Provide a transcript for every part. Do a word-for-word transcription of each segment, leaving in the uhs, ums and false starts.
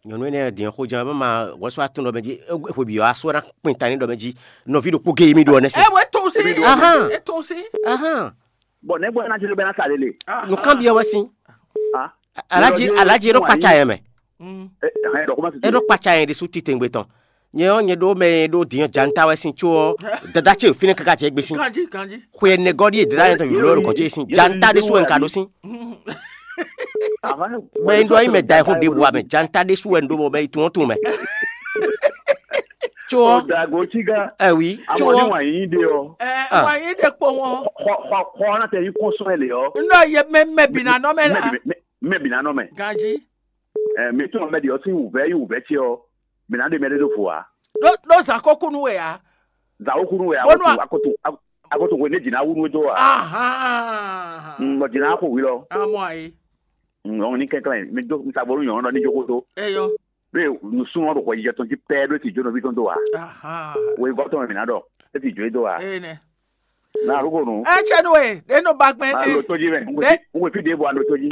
Nyɔ̌nu énɛ́ din ɔ́, xojǎn ma ma wɛ́sú atún ɖɔ mɛ jí, hwebyɔ́ asú ɔ́ ná kpin ta ní ɖɔ mɛ jí, nɔví ɖokpó géé mí ɖó ɔ́ nɛ́ se. Ɛ wɛ tún sí. Ahán. Ɛ tún sí. Ahán. Bɔ nɛ̌ gbɔ ná jló bɛ́ ná sa lélẹ̀? Nǔkanbyɔ́ wɛ sín. Alaji alaji e ɖo kpatsa yɛ mɛ. E ɖɔ kó má e ɖo kpatsa yɛ ɖésú titengbe tɔn. Nyɛ ɔ́, nyɛ ɖó mɛ e ɖó din ɔ́ janta wɛ sín có ɔ́, dada ce fínɛ́ káká jɛ gbé sín. Ganji ganji. Xwe ɛnɛ gɔ́ ɖíe dada yɛ tɔn yǒló ɖo gɔ̌n ce sín janta ɖésú wɛ un ka ɖó sín. Mɛ e ɖɔ nyí mɛ da ixún ɖěbǔ wá mɛ janta ɖésú wɛ un ɖó mɔ mɛ yi tún ɔ́ tún mɛ. Có ɔ́, Dago Tiga, ɛ wi, có amɔ ní ɔ́, wǎn yíyí ɖe ɔ́, ɛ Ah. Wǎn yí ɖe kpo wọn. Xɔ xɔ xɔ ɔ́ ná tɛ nyí kɔnsɔ́n ɛ lě ɔ́. N ɖɔ ye mɛ mɛ bǐ ná nɔ mɛ la. Mɛ bǐ ná nɔ mɛ. Ganji. Ɛ mi tún mɛ ɖi ɔ́ sín wǔvɛ́ nyí wǔvɛ́ ce ɔ́, mǐ ná ɖe mɛ ɖé ɖó vo ǎ. Ɖó ɖó zǎn ko kú nú we ǎ. Zǎn ko kú nú we ǎ. Bónú a- Akoto akoto hwe ní jǐ ná wú nú we dó ǎ. Ahan. Bɔ jǐ ná xo hwi lɔ. Amɔ ayi. Nyɔ̌nu ní kɛnklɛ́n mi dó mi sa bónú nyɔ̌nu ɖɔ ní jó xó dó. Eyɔ. Ɖé nǔsúnnú ɔ́ ɖo hwɛjijɛ tɔn jí pɛ́ ɖó e sì jó nɔví tɔn dó ǎ. Ahan. Weyígɔ́ tɔn mɛ mǐ ná ɖɔ é sì jó é dó ǎ. Eye nɛ. Ná arúgbó nu. Ɛ cɛ nú we ɖe nɔ ba gbɛn má ɖe. Lo tó jí mɛ. N wɛ fí ɖěvo a lo tó jí.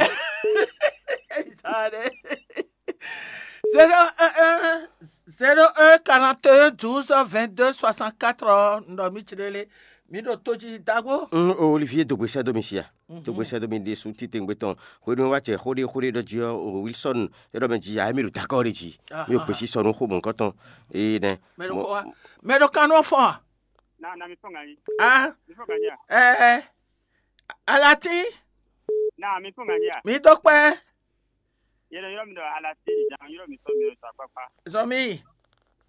Zéro un un zéro un quarante un douze vingt deux soixante quatre ɔ́, n ɖɔ mí ci lélé. Mí ɖo tó jí dago. N Olivier dogbe sɛ́ dó mi sia. Dogbe sɛ́ dó mi ɖésú titengbe tɔn. Hwenu e wá cɛ xóɖé xóɖé ɖɔ jí ɔ́, o Wilson e ɖɔ mɛ jí ayé mi ɖo dakɔ ɖe jí. Mi ò gbèsè sɔnu xó mɔ̌kɔtɔn. Ee nɛ. Mɛ ɖo kɔ wa. Mɛ ɖo kan nɔ fɔn. Na na mi fɔn ganyi. Ah. Mi fɔn ganyi a. Ɛɛ. Alatin. Na mi fɔn ganyi a. Mi dó kpɛ. Yɛlɛ yɔrɔ mi ɖɔ alatin jan yɔrɔ mi sɔ mi ɖo sɔ akpakpa. Zɔmi.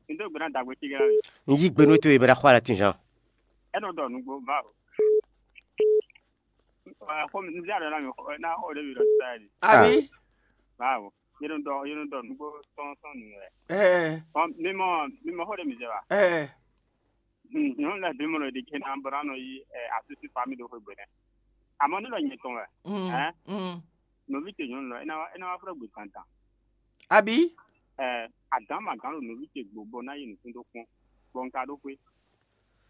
Mi dó gbɛna dagbe ti gɛlɛ mi. N yí gbɛnu to ye bɛ da xɔ alatin jan. Ɛnɔ dɔ nugbo va o. Xɔmi n zia ɖɔ na mi xɔ na xɔ ɖe mi ɖɔ sa yi. Abi. Bawo. Yɛlɛ dɔ yɛlɛ dɔ nugbo sɔn sɔn nu yɛ. Ɛɛ. Mi mɔ mi mɔ xɔ ɖe mi zɛ wa. Ɛɛ. Nyɔnu lɛ́ɛ bǐ mɔ ɖo ɖiɖe ná bɔ ná nɔ yí asúsú fami ɖo xwé gbe nɛ́. Amɔ̌ ní ɖɔ nyɛ tɔn wɛ. Hɛn? Nɔví ce nyɔnu lɔ é ná wá é ná wá flɔ́ gbe dandan. Abǐ? Ɛ, agǎn ma gǎn ɖo nɔví ce gbo bɔ ná yi nǔkún ɖó kpɔ́n, bɔ un ka ɖó xwé.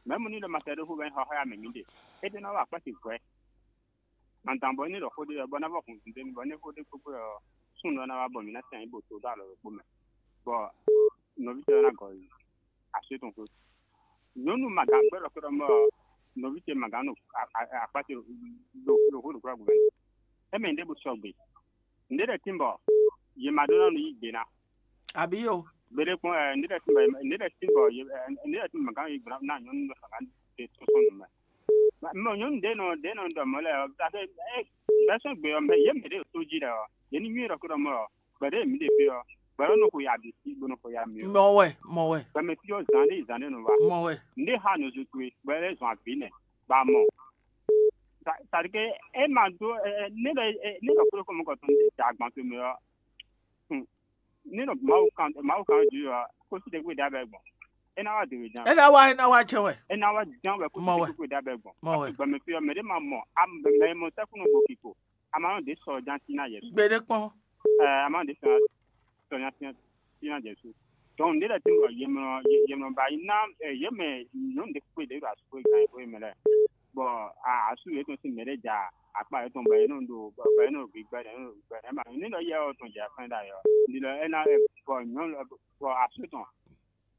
Mɛ̌ mu ní ɖɔ ma sɛ ɖó xwé bɔ é xɔ xá ya mɛ mǐ ɖe. É ɖé ná wá akpá ce hwɛ̌. Dandan bɔ é ní ɖɔ xó ɖé ɔ́, bɔ ná vɔ hun zǐndénu bɔ é ní xó ɖé kpókpó ɔ́, súnnu ɔ́ ná wá bɔ mǐ ná sɛn yě bo to ɖó alɔ ɖokpó mɛ, bɔ nɔví ce ɔ́ ná gɔ yi asú tɔn xwé. Nyɔ̌nu magǎn gbɛ́ ɖɔ xwé ɖɔ mɔ nɔví ce magǎn ɖo akpá ce ɖo ɖo xwé ɖo kúlá gǔvɛ́. É mɛ nyí ɖěbǔ sɔgbe. Nǔɖé lɛ́ɛ tín bɔ yě ma ɖó ná nɔ yí gbe ná. Abǐ yo. Gbeɖé kpɔ́n ɛ nǔɖé lɛ́ɛ tín bɔ nǔɖé lɛ́ɛ tín bɔ yě nǔɖé lɛ́ɛ tín bɔ magǎn yí gbe ná nyɔ̌nu ɖɔ magǎn ɖe tó sɔ́ nǔ mɛ. Mɛ nyɔ̌nu ɖě nɔ ɖě nɔ ɖɔ mɔ̌ lɛ́ɛ ɔ́, bɛ́ sɔ́ gbe ɔ́, mɛ yě mɛ ɖě ɖo tó jí lɛ́ɛ ɔ́, yě ní nywɛ́ ɖɔ xó ɖɔ mɔ̌ ɔ́, gbɛ̌ ɖě mǐ ɖe fí ɔ́, gbɛ̌ ɔ́ nɔ xo ya bǐ sí, bó nɔ xo ya mì ɔ́. Mɔ wɛ, mɔ wɛ. Gbɛmɛ fí ɔ́ zǎn ɖé yi zǎn ɖé nɔ wá. Mɔ wɛ. Nǔɖé xa nǔ zú towe, gbɛ̌ lɛ́ zɔn avǐ nɛ, bɔ a mɔ. Tadike é ma dó ne ɖɔ ne ɖɔ kúɖokpó mɔ̌kɔtɔn ɖé da agban towe mɛ ɔ́, ní ɖɔ Mawu kan Mawu kan jí ɔ́, kó sí ɖěgbé ɖa bɛ gbɔn. É ná wá dě wé ján. É ná wá é ná wá jɛ wɛ. É ná wá ján wɛ kó sí Mɔ wɛ. Ɖěgbé ɖa bɛ gbɔn. Mɔ wɛ. Gbɔmɛ fí ɔ́, mɛ ɖé ma mɔ mɛ mɔ sɛ́kúnú bo kiko. Amanu ɖě sɔ jan tín ná Jezu. Gbeɖé kpɔ́n. Ɛ amanu ɖě sɔ sɔ jan tín tín ná Jezu. Donc ɖě lɛ́ɛ tín bɔ yě mlɔ yě mlɔ ba yi ná ɛ yě mɛ nyɔ̌nu ɖě kpé ɖě ɖo asú gan yě kpé mɛ lɛ́ɛ. Bɔ asú yětɔn sín mɛ ɖé ja akpá yětɔn bɔ yě nɔ ɖo bɔ yě nɔ ɖo gbigbɛ ɖě nɔ ɖo gbigbɛ ɖě ma ní lɔ yɛ ɔ́ tɔn jɛ afɛn ɖ'ayǐ ɔ́. Ní lɔ é ná bɔ nyɔ̌nu bɔ asú tɔn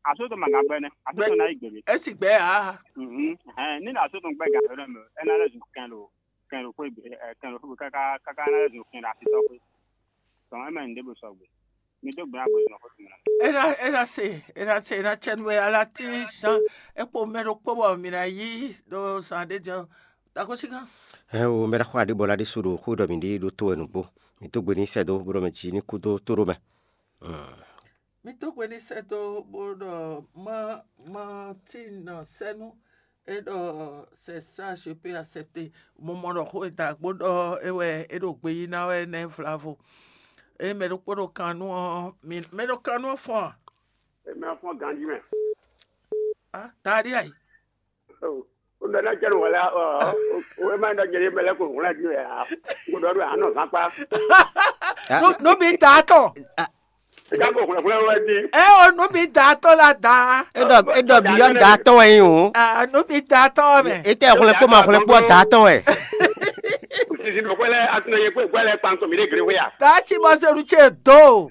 asú tɔn ma gan gbɛ nɛ́ asú tɔn ná yi gbě. Esi gbɛ aa. Hɛn ní asú tɔn gbɛ gan yǒ ɖɔ mɛ é ná lɛ́ zun kɛn ɖo kɛn ɖo xwé gbe ɛ kɛn ɖo xwé gbe káká káká ná lɛ́ zun kɛn ɖo asitɔ́ xwé. Tɔn é mɛ nǔɖé bó sɔgbe. Mi dó gbe ná gbe zɔn xó tɔn mɛ. Ena ena se ena se ena cɛ nú ɛ ala tí zan é kpo mɛ ɖokpó bɔ mǐ ná yí ɖo zan ɖé jɛ. Dako sí gán. Ɛ o mɛ ɖaxó aɖé bɔ la ɖé so ɖo xó ɖɔ mǐ ɖe ɖó tó wɛ nǔgbó. Mǐ dó gbe ní sɛ dó bó ɖɔ mɛ jí ní kú dó tó ɖó mɛ. Mì dó gbe ní sɛ́ dó bó ɖɔ má má tín nɔ sɛ́nú é ɖɔ c'est ça je peux accepter. Mo mɔ ɖɔ xó e da gbó ɖɔ é wɛ é ɖo gbe yí ná wɛ nɛ́ vlavo. É mɛ ɖokpó ɖo kan nú ɔ́ mɛ ɖo kan nú ɔ́ fɔ́n a? Mɛ ɔ́ fɔ́n ganjí mɛ. Á taɖí ayi. Ó nɔ ná jɛ nǔ wɛlɛ ɔ wɛ má nɔ jɛ ní mɛ lɛ́ ko hwlɛ́n dín wɛ ǎ. N ko ɖɔ ɖo anɔ zán kpá. Nú bí da tɔn. Ká ko hwlɛ́n hwlɛ́n wɛ dín. Ɛ o nú bí da tɔn la da. E ɖɔ e ɖɔ bi yɔ da tɔn wɛ yi o. Nú bí da tɔn wɛ mɛ. E tɛ hwlɛ́n kpó ma hwlɛ́n kpó da tɔn wɛ. Sisi nɔ hwɛlɛ asinɛ yɛ kpé hwɛlɛ kpankɔ mi ɖe gre hwɛ ya. Ká tí ma se nu ce do.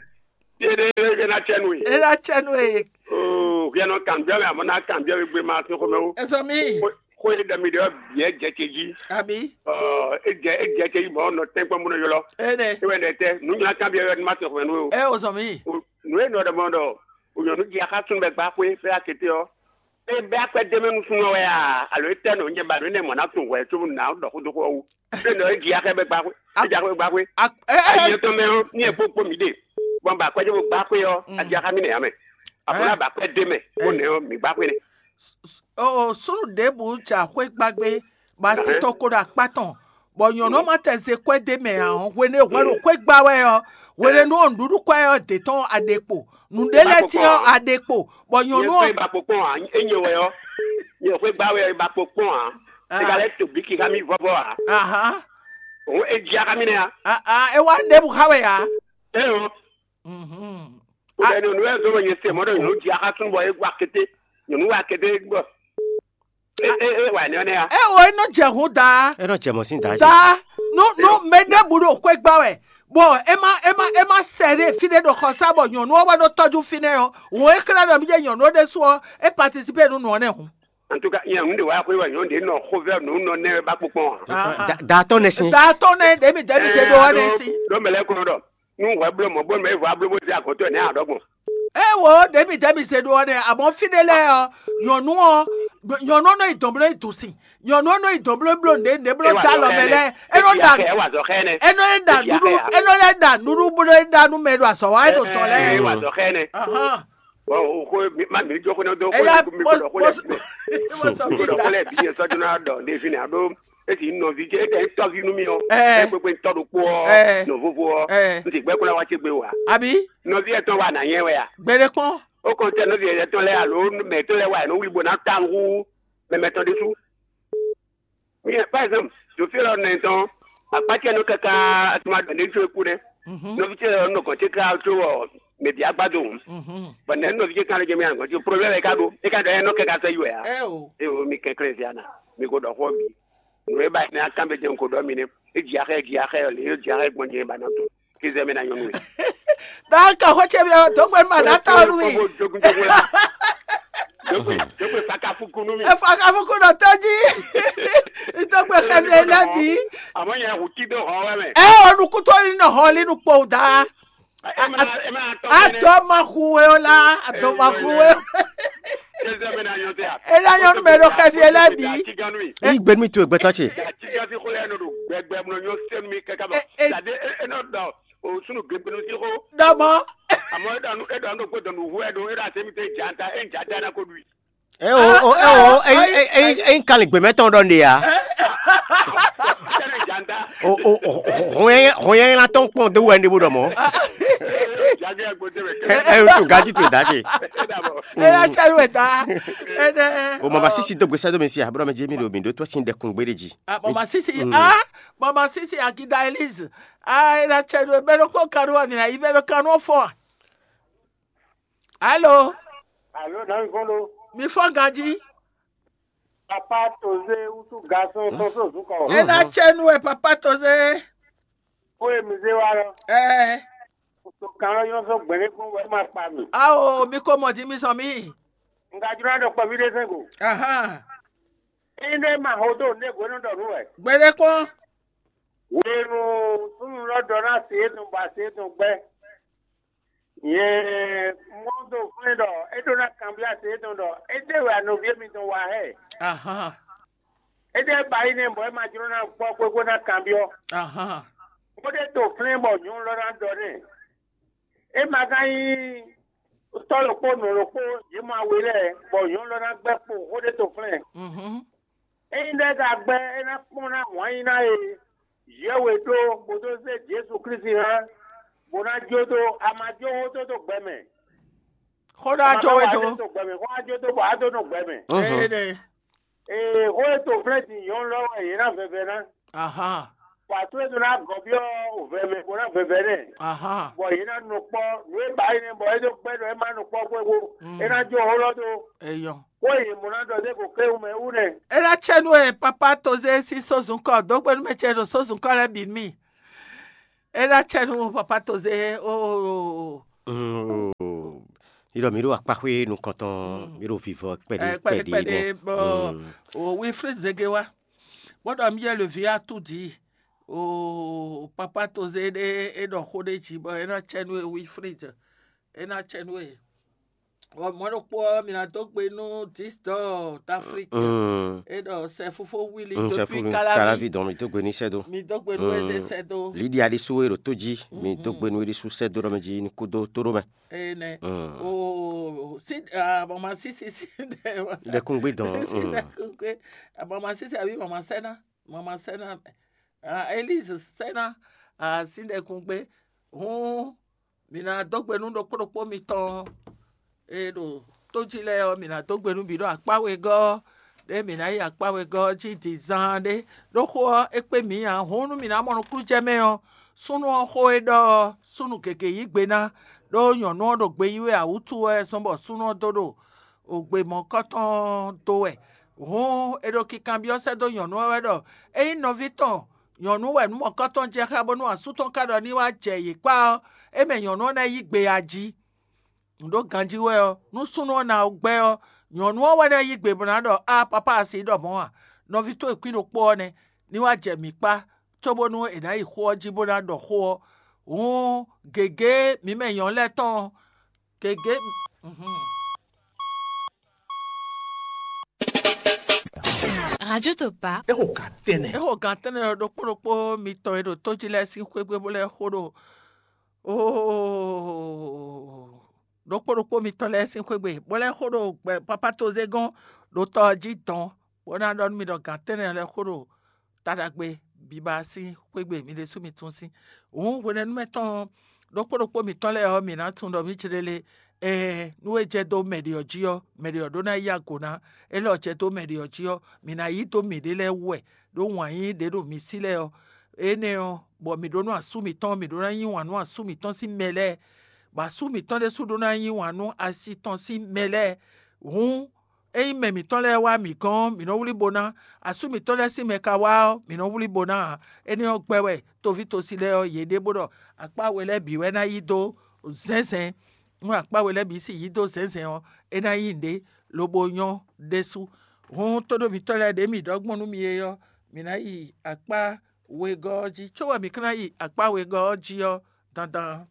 É ná cɛ nú we. É ná cɛ nú we. Oo, hwi nɔ kanbyɔ́ mɛ, amɔ̌ ná kanbyɔ́ we gbé ma sín xomɛ wú. Ezɔ mi. Xó e ɖɔ mi ɖe ɔ́ bǐ é jɛ ce jí. Abi. Ɔ, é jɛ é jɛ ce jí bɔ nɔ tɛ́nkpɔ́n bó nɔ ylɔ́. Ene. É wɛ ɖɛ tɛ nǔ nyla kanbyɔ́ wɛ má sín xomɛ nú we o. É o zɔn mi. Nǔ e nɔ ɖɔ mɔ ɖɔ ònyɔ̌nu jí axá súnnu bɛ gbá xwé fɛ akete ɔ́. É bɛ́ akwɛ́ d'é mɛ nú súnnu ɔ́ wɛ a? Alo é tɛ́ nɔ nyɛ ba nǔ énɛ́ mɔ ná tunwun hwɛ cóbɔ nǔ ná ɖɔ xó dó xó ɔ́ wú? Ɖé nɔ é ji axɛ bɛ gba xwé, é ji axɛ bɛ gba xwé. Ayé tɔn mɛ ɔ́, ní e kpó kpó mǐ ɖe, bɔ un ba akwɛ́ cóbɔ gba xwé ɔ́, a ji axá mì nɛ ǎ mɛ. Àbọ̀ ná ba akwɛ́ d'é mɛ, bó nɛ ɔ́, mǐ gba xwé nɛ. Súnnu ɖěbǔ ja xwé gbá gbé, bɔ así tɔn ko ɖo akpá tɔn, bɔ nyɔ̌nu ɔ́ ma tɛ ze kwɛ́ d'é mɛ ǎ ɔ́, hwenu e hwɛ ɖo xwé gbá wɛ ɔ́, hwenu e nú ɔ́ nǔɖuɖu kwɛ́ ɔ́ d'é tɔn a ɖe kpo, nǔɖé lɛ́ɛ tɔn a ɖe kpo, bɔ nyɔ̌nu ɔ́. Ba kpokpɔn ǎ, é nyɛ wɛ ɔ́, nyɛ xwé gbá wɛ ba kpokpɔn ǎ. É ka lɛ́ to bǐki xá mì vɔ́vɔ́ ǎ. Ahán. Òun é ji axá mì nɛ́ ǎ. Ahán, é wá ɖěbǔ xá wɛ ǎ. É ɔ́. Mhm. Kò bɛ nyɔ̌nu wɛ zɔn bɔ nyɛ se mɔ̌ ɖɔ nyɔ̌nu ji axá súnnu bɔ é wá kété. Nyɔ̌nu wá kété bɔ é é é wà ní ɔ́ nɛ́ ǎ. É o, é nɔ jɛ hun daa. É nɔ jɛ mɔ̌ sín daa jí. Daa. Nú nú mɛ ɖěbǔ ɖo xwé gbá wɛ, bɔ é má é má é má sɛ ɖé fí ɖé ɖo xɔsá bɔ nyɔ̌nu ɔ́ wɛ nɔ tɔ́jú fínɛ́ ɔ́, hǔn é xlɛ́ ɖɔ mí jɛ nyɔ̌nu ɔ́ ɖésú ɔ́, é patisipé nú nǔ ɔ́ nɛ́ hǔn. En tout cas, nyɛ nu ɖe wá xwé wɛ nyɔ̌nu ɖě nɔ xovɛ́ nǔ nɔ nɛ́ ba kpokpɔn ǎ. Da- da tɔn nɛ sín. Da tɔn nɛ ɖě mi dɛ́ mi zé ɖó ɔ́ nɛ sí. Ɖó mɛ lɛ́ɛ kɔn ɖɔ nú hwɛ bló mɔ̌ bó mɛ vɔ abló bó zé agɔ̌tɔ́ nɛ́ ǎ ɖɔgbɔn. É wo ɖě mi dɛ́ mi zé ɖó ɔ́ nɛ, àmọ́ fí ɖé lɛ́ɛ ɔ́, nyɔ̌nu ɔ́ nyɔ̌nu ɔ́ nɔ yi dɔ̌n bló yi dun sin, nyɔ̌nu ɔ́ nɔ yi dɔ̌n bló bló nǔɖé nǔɖé bló dó alɔ mɛ lɛ́ɛ, é nɔ ɖa é wà zɔ xɛ nɛ. É nɔ lɛ́ ɖa nǔɖu é nɔ lɛ́ ɖa nǔɖu bó nɔ lɛ́ ɖa nú mɛ ɖo azɔ̌ wa é ɖo dɔ̌n lɛ́ɛ. É wà zɔ xɛ nɛ. Ahán. Bɔn o xó mi- ma mi jó xó ne dó xó Eya ne kú mi bó dɔ xó ne. Bó dɔ xó lɛ bí yẹn sɔjú náà dɔ ne fi ne a ɖó esi nɔvi jẹ ete tɔvi nú mi ɔ. Ɛ. Ɛ gbégbé ŋutɔ ɖokpó ɔ Ɛ. Nɔ vovo ɔ Ɛ. N ti gbɛ kó la wá tse gbé wa. Àbí? Nɔvi ɛtɔn wa nà nyɛ wɛ a? Gbɛɖe kpɔn. Ó kɔn tɛ nɔvi ɛtɔn lɛ alo mɛ tɔn lɛ wa yɛ nɔ wuli bó ná ta hu mɛmɛ tɔn ɖésú. Mi par exemple, ɖo fí élɔ́ nɛ tɔn, akpá ce nɔ káká atuma ɖɔ ní tso kú nɛ. Mhm. Nɔví ce ɔ́ nɔ gɔn ce ká tso ɔ mɛ bia gbado hǔn. Mhm. Bɔn nɛ nɔví ce kan lɛ jɛ mi agɔn ce problème ka ɖo e ka ɖɔ ɛ nɔ kɛ ka sɛ yi wɛ a. Ɛ o. E o mi kɛnklɛn zia na mi ko ɖɔ xɔ bi. Nǔ e ba ne akan bɛ jɛ ko ɖɔ mi nɛ. E dzi axɛ dzi axɛ ɔ le e dzi axɛ gbɔn jɛ ba na to. Kizɛ mi na nyɔnu e. Daa ka xɔ ce mi ɔ, dogbe ma na ta ɔnu mi. Jogun jogun la. Dogbe dogbe fakafuku nu mi. Efakafuku nɔ tɔji. Dogbe xɛ mi lɛ bi. Àmọ́ yẹn hùtí dó hàn wá mẹ́. Ɛ ɔnu kutɔ ni nɔ hɔn li nu kpɔ da. Ẹ máa ẹ máa tọ́ A dɔ ma hu we o la, a dɔ ma hu we o. Kizɛ mi na nyɔ tɛ a. E la nyɔnu mɛ ɖo xɛ mi lɛ bi. Ní gbẹnu mi to ẹgbẹ́ tán ṣe. Àtijọ́ sí kó lẹ́nu rò gbẹgbẹ mọ̀ yóò sẹ́nu mi kẹ́kẹ́ bọ̀. Ẹ, ẹ. Ṣàdé ẹ ẹ náà dọ̀ o sunu gbẹgbẹnu sí kó. Dɔmɔ. Àmọ́ ẹ dànù ẹ dànù pé dànù hu ẹ dùn ẹ dà sẹ́mi tẹ janta ẹ janta ẹ náà kó dùn. Ẹ o o ẹ o ẹ ẹ ẹ ẹ ń kalẹ̀ gbẹ̀mẹ́tọ̀ dọ̀ ndè ya. Ẹ dànù janta. O o o hɔnyɛ hɔnyɛ ńlá tɔn kpɔn dé wɛ ndé bó dɔ mɔ. Jage agbo tẹ bẹ Ẹ kẹlẹ. Ẹ o tó gaji tó dáke. Ẹ dàbọ̀. Ẹ yà tsẹ lu ẹ ta. Ẹ dẹ. O mama sisi dó gbèsè dó mi si àbúrò mi jí mi lò mi dó tó sí dẹkùn gbére jì. Ah, Mama Sisi, Mm. Ah, Mama Sisi, Akida Elise. Ah, ina chenu ebero ko kanu wa mina ibero kanu fo. Allô, Alo, na mi fɔn lo. Mi fɔ gaji. Papa Toze usu garçon tɔn so zukɔ. Ina chenu e papa Toze. Ko e mi ze wa lɔ. Eh, To kan lɔ yɔ sɔ gbɛnɛ kpɔn wɛ ma kpa mi. Ao, mi ko mɔ di mi sɔ mi. N ka jló na ɖɔ kpɔví ɖé sɛn go. Aha. Ényí ɖé ma ho dó nǔɖé hwenu ɖɔ nǔ wɛ. Gbɛɖe kpɔn. Hwenu súnnu lɔ ɖɔ ná se étɔn bɔ ase étɔn gbɛ. Nyɛ mɔ dó flɛ́n ɖɔ é ɖó ná kanbyɔ́ ase étɔn ɖɔ éɖé wɛ anɔví mitɔn wa hɛ. Aha. Éɖé ba yi nɛ bɔ é ma jló ná gbɔ xwé bó ná kanbyɔ́. Aha. Bó ɖé to flɛ́n bɔ nyɔ̌nu lɔ ná ɖɔ nɛ. É ma ka nyí tɔ́ ɖokpó nɔ ɖokpó yě mɔ awe lɛ́ɛ, bɔ nyɔ̌nu lɔ ná gbɛ́ kpo xó ɖé to flɛ́n. Mhm. Ényí ɖɛ ka gbɛ́ é ná kpɔ́n ná wǎn yí ná e yɛ̌we ɖó bó dó zé Jezu Klísu hán, bó ná jó dó a ma jó xó dó dó gbɛ mɛ. Xó ɖá jó we dó. Dó gbɛ mɛ, xó á jó dó bɔ á dó nɔ gbɛ mɛ. Mhm. Ee, xó e to flɛ́ din nyɔ̌nu lɔ wɛ yě ná vɛvɛ ná. Aha. Bɔ ato e ɖo ná gɔ́ byɔ́ vɛ mɛ bó ná vɛvɛ nɛ. Aha. Bɔ yě ná nɔ kpɔ́ nǔ e ba é nɛ́ bɔ é dó gbɛ́ ɖɔ é má nɔ kpɔ́ xwé bó Mm. É ná jó xó lɔ dó. Eyɔ. Xó e yě mɔ ná ɖɔ dó ko kéwú mɛ wú nɛ. É ná tsɛ nú e papa Toze sín sózun kɔ dó gbe nú mɛ ce ɖo sózun kɔ lɛ́ɛ bǐ nú mì. É ná tsɛ nú papa Toze o. Mm. Yi ɖɔ mǐ ɖo akpáxwé nukɔntɔn, mǐ ɖo vivɔ kpɛɖé kpɛɖé nɛ́. Bɔ o Wilfred Zege wá, bó ɖɔ mí yɛ le vǐ atúdi o papa toze ɖé, é ɖɔ xó ɖé jí bɔ é ná cɛ nú e Wilfred, é ná cɛ nú e. Ɔ mɔ̌ ɖokpó ɔ́, mi ná dó gbe nú Disdɔ d'Afrique. É ɖɔ sɛ fúfó wíli depuis Kalavi. Kalavi dɔn mi dó gbe ní sɛ́ dó. Mi dó gbe nú eze sɛ́ dó. Lidia ɖésú e ɖo tó jí, mi dó gbe nú é ɖésú sɛ́ dó ɖɔ mɛ jí ní kú dó tó ɖó mɛ. Ene. O si mama sisi si ɖe. Lɛkúngbé dɔn. Si lɛkúngbé. Mama sisi àbí mama sɛ́ná, mama sɛ́ná. Elise sɛ́ná. Si lɛkúngbé. Hǔn mǐ ná dó gbe nú ɖokpó ɖokpó mitɔn e ɖo tó jí lɛ́ɛ ɔ́, mǐ ná dó gbe nú bǐ ɖo akpá wegɔ́ ɔ́, ɖé mǐ ná yi akpá wegɔ́ ɔ́ jí din zaan ɖé. Ɖó xó ɔ́, é kpé mǐ ǎ. Hǔn nú mǐ ná mɔ nukúnnú jɛ mɛ ɔ́, súnnu ɔ́ xó e ɖɔ ɔ́, súnnu gěgé yí gbe ná, ɖó nyɔ̌nu ɔ́ ɖo gbe yí wɛ ǎ wútu wɛ zɔ́n bɔ súnnu ɔ́ dó ɖo ògbe mɔ̌kɔtɔn dó wɛ. Hǔn è ɖo kinkanbyɔ́ sɛ́ dó nyɔ̌nu ɔ́ wɛ ɖɔ: Ényí nɔví tɔn nyɔ̌nu wɛ nǔ mɔ̌kɔtɔn jɛ xá bónú asú tɔn ka ɖɔ ní wá jɛ yě kpá ɔ́, é mɛ nyɔ̌nu ɔ́ ná yí gbe a jí. Nǔ ɖó ganjí wɛ ɔ́, nú súnnu ɔ́ ná gbɛ́ ɔ́, nyɔ̌nu ɔ́ wɛ ná yí gbe bó ná ɖɔ: Á papá asi ɖɔ mɔ̌ a? Nɔví towe kwín ɖokpó ɔ́ nɛ́, ní wá jɛ mǐ kpá, cóbónú è nǎ yi xó ɔ́ jí bó ná ɖɔ xó ɔ́. Hǔn gěgé mǐ mɛ nyɔ̌nu lɛ́ɛ tɔn ɔ́, gěgé. Mhm. Radio Topa. É xo gǎn tɛ́nnɛ. É xo gǎn tɛ́nnɛ ɖokpó ɖokpó mitɔn e ɖo tó jí lɛ́ɛ sín xwé gbe bó lɛ́ xo ɖo oo ɖokpó ɖokpó mitɔn lɛ́ɛ sín xwé gbe, bó lɛ́ xo ɖo gbɛ papá tozégɔ́n ɖo tɔ ɔ́ jí dɔn, bó ná ɖɔ nú mi ɖɔ gǎn tɛ́nnɛ lɛ́ɛ xo ɖo ta ɖagbe biba sín xwé gbe mi ɖésú mi tunwun sín. Hǔn hwenɛ́nu mɛ tɔn ɖokpó ɖokpó mǐtɔn lɛ́ɛ ɔ́, mǐ ná tunwun ɖɔ mǐ jlélé ɛɛ nú é jɛ dó mɛ ɖě ɔ́ jí ɔ́, mɛ ɖě ɔ́ ɖó ná yí ago ná. É lɔ jɛ dó mɛ ɖě ɔ́ jí ɔ́, mǐ ná yí dó mǐɖée lɛ́ɛ wú wɛ, ɖó wǎn yíyí ɖě ɖo mǐ sí lɛ́ɛ ɔ́, énɛ́ ɔ́, bɔ mǐ ɖó nú asú mǐtɔn, mǐ ɖó ná yí wǎn nú asú mǐtɔn sín mɛ lɛ́ɛ, bɔ asú mǐtɔn ɖésú ɖó ná yí wǎn nú asi tɔn sín mɛ lɛ́ɛ. Hǔn ényí mɛ mǐtɔn lɛ́ɛ wá mǐ gɔ́n ɔ́, mǐ nɔ wlí bo ná; asú mǐtɔn lɛ́ɛ sín mɛ ka wá ɔ́, mǐ nɔ wlí bo ná ǎ. Énɛ́ ɔ́ gbɛ́ wɛ toví tosi lɛ́ɛ ɔ́, yě ɖe bó ɖɔ akpá we lɛ́ɛ bǐ wɛ ná yí dó zɛ̌nzɛ́n. Nú akpá we lɛ́ɛ bǐ sì yí dó zɛ̌nzɛ́n ɔ́, é ná nyí nǔɖé, lobo nyɔ́ ɖésú. Hǔn tóɖó mǐtɔn lɛ́ɛ ɖě mǐ ɖɔ gbɔn nú mi é ɔ́, mǐ ná yi akpá wegɔ́ ɔ́ jí, có wɛ mǐ ka ná yi akpá wegɔ́ ɔ́ jí ɔ́ dandan.